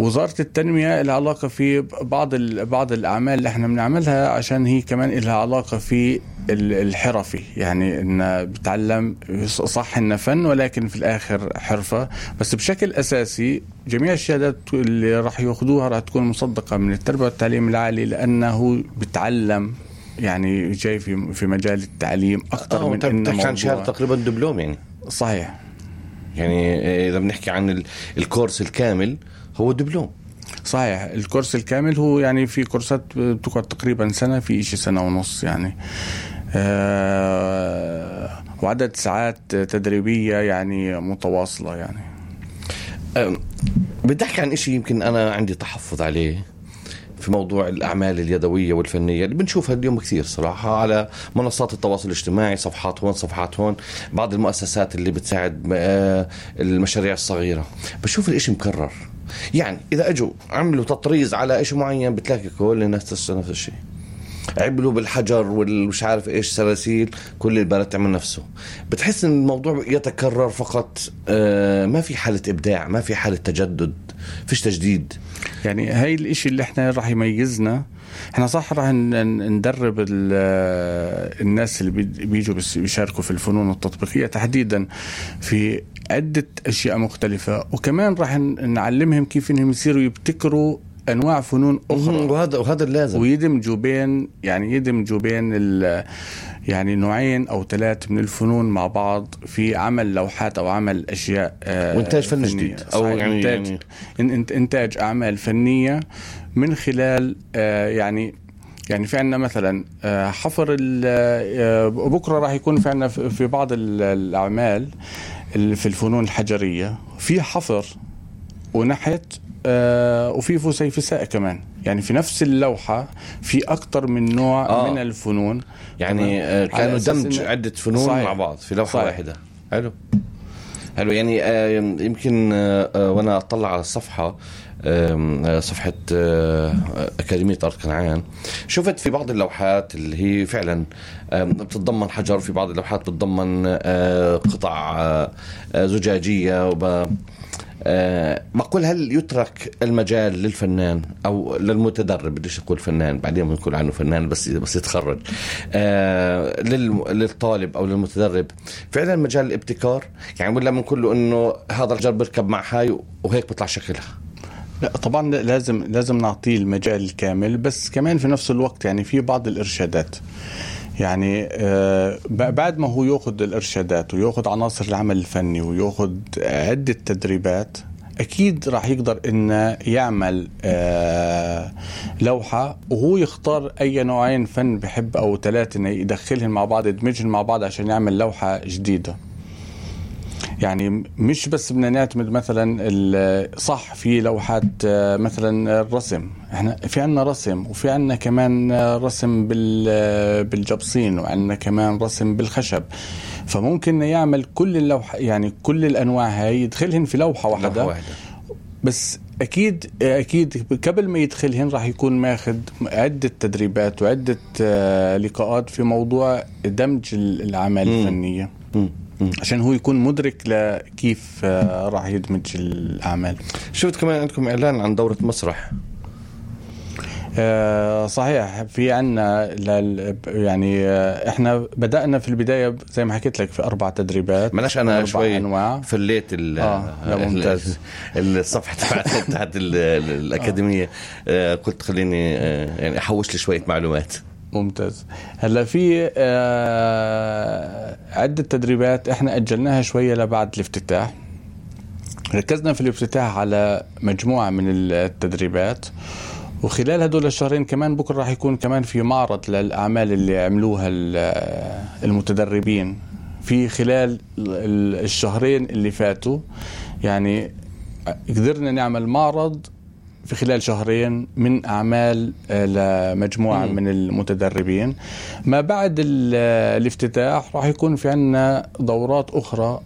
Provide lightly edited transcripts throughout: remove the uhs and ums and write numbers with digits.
وزارة التنمية لها علاقة في بعض الأعمال اللي احنا بنعملها، عشان هي كمان لها علاقة في الحرفي، يعني إن بتعلم صح إنه فن ولكن في الآخر حرفة. بس بشكل أساسي جميع الشهادات اللي راح يأخذوها راح تكون مصدقة من التربية والتعليم العالي، لأنه بتعلم يعني جاي في مجال التعليم أكثر من إنه موضوع. كان شهادة تقريبا دبلوم يعني. صحيح. يعني إذا بنحكي عن الكورس الكامل هو دبلوم. صحيح. الكورس الكامل هو يعني في كورسات بتقعد تقريبا سنة، في إشي سنة ونص يعني، وعدد ساعات تدريبية يعني متواصلة يعني. بدي أحكي عن إشي يمكن أنا عندي تحفظ عليه في موضوع الأعمال اليدوية والفنية اللي بنشوفها اليوم كثير صراحة على منصات التواصل الاجتماعي، صفحات هون صفحات هون، بعض المؤسسات اللي بتساعد المشاريع الصغيرة. بشوف الإشي مكرر، يعني إذا أجوا عملوا تطريز على إشي معين بتلاقي كل الناس نفس الشيء، عملوا بالحجر والمش عارف إيش سلاسل، كل البلد تعمل نفسه. بتحس إن الموضوع يتكرر فقط، ما في حالة إبداع، ما في حالة تجدد، فيش تجديد. يعني هاي الاشي اللي احنا راح يميزنا. احنا صح راح ندرب الناس اللي بيجوا بيشاركوا في الفنون التطبيقية تحديدا في عدة اشياء مختلفة، وكمان راح نعلمهم كيف انهم يصيروا يبتكروا انواع فنون اخرى، وهذا اللازم، ويدمجوا بين يعني نوعين او 3 من الفنون مع بعض في عمل لوحات او عمل اشياء وانتاج فن جديد، او يعني انتاج اعمال فنية من خلال يعني في عنا مثلا حفر. بكرة راح يكون في عنا في بعض الأعمال في الفنون الحجرية في حفر ونحت وفي فسيفساء كمان، يعني في نفس اللوحة في أكتر من نوع من الفنون، يعني كانوا دمج عدة فنون مع بعض في لوحة واحدة. حلو يعني يمكن وانا اطلع على الصفحة، صفحة أكاديمية أرض كنعان، شفت في بعض اللوحات اللي هي فعلا بتتضمن حجر، في بعض اللوحات بتتضمن قطع زجاجية. بقول هل يترك المجال للفنان أو للمتدرب، بديش أقول فنان بعدين بنقول عنه فنان بس يتخرج، للطالب أو للمتدرب فعلا مجال الابتكار يعني، ولا من كله إنه هذا الحجر بركب مع هاي وهيك بيطلع شكلها؟ لا طبعا لازم نعطيه المجال الكامل، بس كمان في نفس الوقت يعني في بعض الإرشادات، يعني بعد ما هو يأخذ الإرشادات ويأخذ عناصر العمل الفني ويأخذ عدة تدريبات، أكيد راح يقدر إنه يعمل لوحة وهو يختار أي نوعين فن بحب أو 3 إنه يدخلهم مع بعض، يدمجهم مع بعض عشان يعمل لوحة جديدة. يعني مش بس بدنا نعتمد مثلا صح في لوحات مثلا الرسم، احنا في عنا رسم وفي عنا كمان رسم بالجبصين وعنا كمان رسم بالخشب، فممكن يعمل كل اللوحة يعني كل الأنواع هاي يدخلهن في لوحة واحدة. بس أكيد قبل ما يدخلهن راح يكون ماخذ عدة تدريبات وعدة لقاءات في موضوع دمج الأعمال الفنية عشان هو يكون مدرك لكيف راح يدمج الأعمال. شفت كمان عندكم إعلان عن دورة مسرح. صحيح، في عنا يعني احنا بدأنا في البداية زي ما حكيت لك في 4 تدريبات. ملاش أنا شوي فليت الصفحة تحت الأكاديمية، قلت خليني يعني أحوش لي شوية معلومات. ممتاز. هلا في عدة تدريبات احنا أجلناها شوية لبعد الافتتاح. ركزنا في الافتتاح على مجموعة من التدريبات، وخلال هدول الشهرين كمان بكرة راح يكون كمان في معرض للأعمال اللي عملوها المتدربين في خلال الشهرين اللي فاتوا. يعني قدرنا نعمل معرض في خلال شهرين من أعمال لمجموعة من المتدربين. ما بعد الافتتاح راح يكون في عنا دورات أخرى،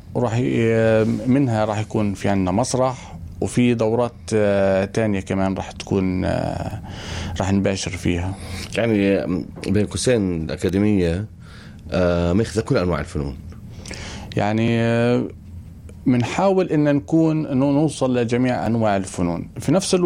منها راح يكون في عنا مسرح، وفي دورات تانية كمان راح تكون راح نباشر فيها. يعني بين قوسين الأكاديمية ماخذة كل أنواع الفنون، يعني منحاول إن نوصل لجميع أنواع الفنون في نفس الوقت.